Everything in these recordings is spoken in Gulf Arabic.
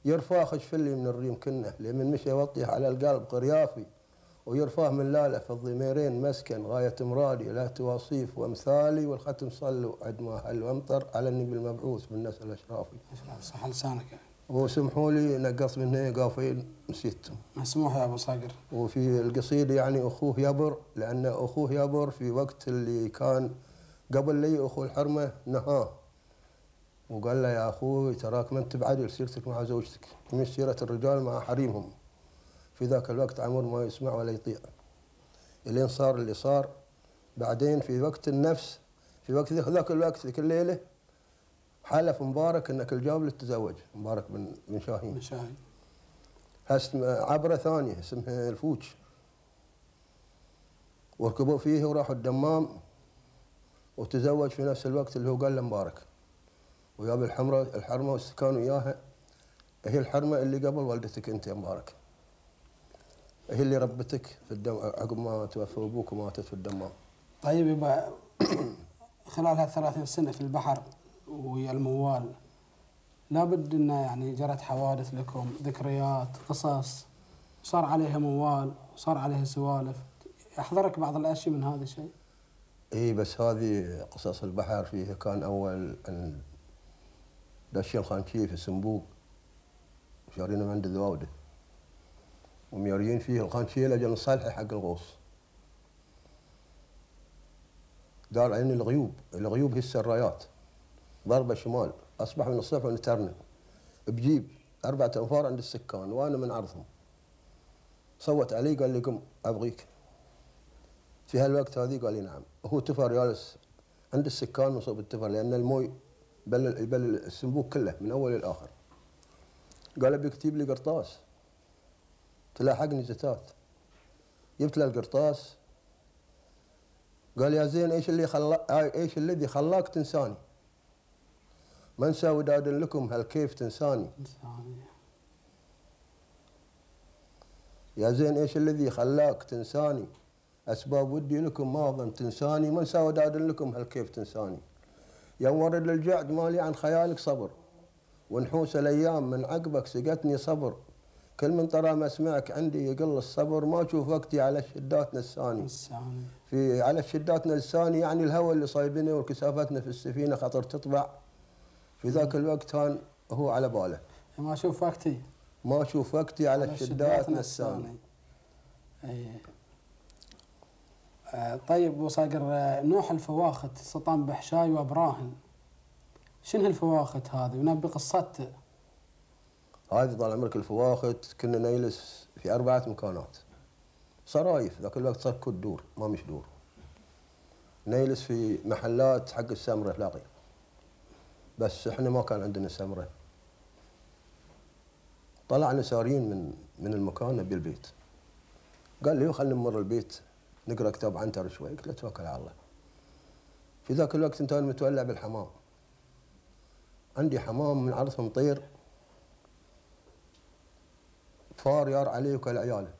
يرفاه خشفلي من الريم كنه لمن مشى يوطيه على القلب قريافي، ويرفاه من لاله في الضميرين مسكن غاية مرادي لا تواصيف وامثالي، والختم صلوا عد ما هل وامطر على النبي المبعوث بالنسل الاشرافي. صح لسانك. وسمحوا لي نقص منه قافين نسيتهم. مسموح يا ابو صقر. وفي القصيده يعني اخوه يبر، لان اخوه يبر في وقت اللي كان قبل لي اخو الحرمه نهاه وقال له يا اخوي تراك ما انت بعدل سيرتك مع زوجتك، مش سيره الرجال مع حريمهم. في ذاك الوقت عمر ما يسمع ولا يطيع، الين صار اللي صار. بعدين في وقت النفس، في وقت ذاك الوقت ذيك الليله حلف مبارك انك الجاب للتزوج، مبارك بن شاهين. عبره ثانيه اسمها الفوج، وركبوا فيه وراحوا الدمام، وتزوج في نفس الوقت اللي هو قال له مبارك، وياب الحرمه واستكانوا وياها. هي الحرمه اللي قبل والدتك انت يا مبارك، هي اللي ربتك في الدم عقب ما توفى ابوك وماتت في الدمام. طيب يبقى خلال هال 30 سنه في البحر ويا الموال لابد انه يعني جرت حوادث لكم، ذكريات، قصص، صار عليها موال وصار عليها سوالف، يحضرك بعض الاشياء من هذا الشيء؟ اي بس هذه قصص البحر فيها كان اول دشين خانشيه في سنبوق شارينه من عند ذواوده ومياريين فيه الخانشيه لاجل نصلحه حق الغوص. دار عين الغيوب هي السرايات، ضربه شمال اصبح من الصبح ونترنه بجيب 4 أنفار عند السكان وانا من عرضهم. صوت علي قال لي قم ابغيك. في هالوقت هذه قال لي نعم. هو تفر جالس عند السكان مصوب التفر لان الموي يبل السنبوق كله من اول للاخر. قال ابي اكتب لي قرطاس تلاحقني زتات. جبت له القرطاس قال يا زين ايش الذي خلاك تنساني؟ ما انسى وداد لكم هل كيف تنساني؟ يا زين ايش الذي خلاك تنساني؟ اسباب ودي لكم ما اظن تنساني، ما انسى وداد لكم هل كيف تنساني؟ يا مورد للجعد مالي عن خيالك صبر، ونحوس الايام من عقبك سقتني صبر، كل من طرى مسمعك عندي يقل الصبر، ما اشوف وقتي على الشدات نساني. في على الشدات نساني يعني الهوى اللي صايبنا وكسافتنا في السفينه خطر تطبع. في ذاك الوقت كان هو على باله ما اشوف وقتي على الشدات نساني. اي طيب ابو صقر، نوح الفواخت سطن بحشاي وابراهن، شنو الفواخت هذه ونبي قصته؟ هذه طال عمرك الفواخت كنا نجلس في 4 مكانات صرايف، ذاك الوقت صار كل دور ما مش دور. نجلس في محلات حق السمره لاقي، بس احنا ما كان عندنا سمره. طلعنا سارين من المكان نبي البيت. قال لي خلينا نمر البيت نقرا كتاب عنتر شوي. قلت له توكل على الله. في ذاك الوقت انت متولع بالحمام، عندي حمام من عرضهم طير فار يار عليه وكل عياله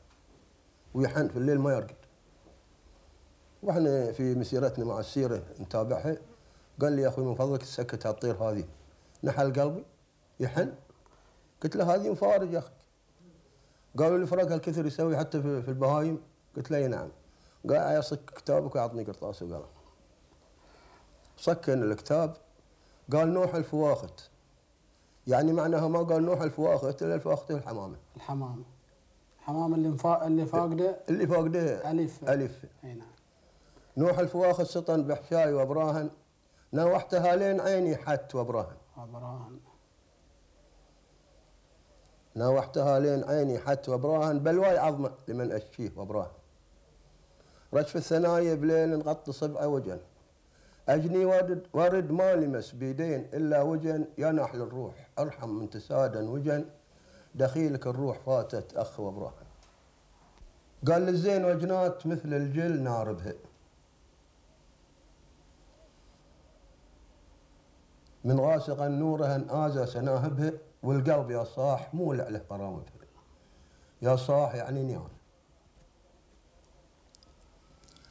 ويحن في الليل ما يرقد. واحنا في مسيرتنا مع السيره نتابعها قال لي يا اخوي من فضلك تسكت هالطير هذه، نحل قلبي يحن. قلت له هذه مفارج يا اخي. قالوا لي فرق هالكثر يسوي حتى في البهايم؟ قلت له نعم. قال يصك كتابك ويعطني قرطاس وقلم. سكن الكتاب قال نوح الفواخت، يعني معناها ما قال نوح الفواخت الا الفواخت الحمامه. الحمامه اللي فاقده الف. اي نعم. نوح الفواخت سطن بحشاي وابراهن، ناوحتها لين عيني حت وابراهن. ناوحتها لين عيني حت وابراهن، بلواي عظمه لمن اشكيه وابراهن. رشف الثنايا بليل نغطي صبعه وجن، اجني ورد ما لمس بيدين الا وجن، يا نحل الروح ارحم من تسادا وجن، دخيلك الروح فاتت اخ وابراهن. قال للزين وجنات مثل الجل ناربها، من غاسقا نورها آزى سناهبها، والقلب يا صاح مولع له قرامتها. يا صاح يعني نيان،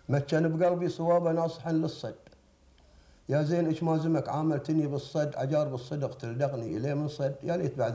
مكن بقلبي صوابه ناصحا للصد، يا زين ايش ما زمك عاملتني بالصد، عجار بالصدق تلدغني اليه من صد، يا ليت بعد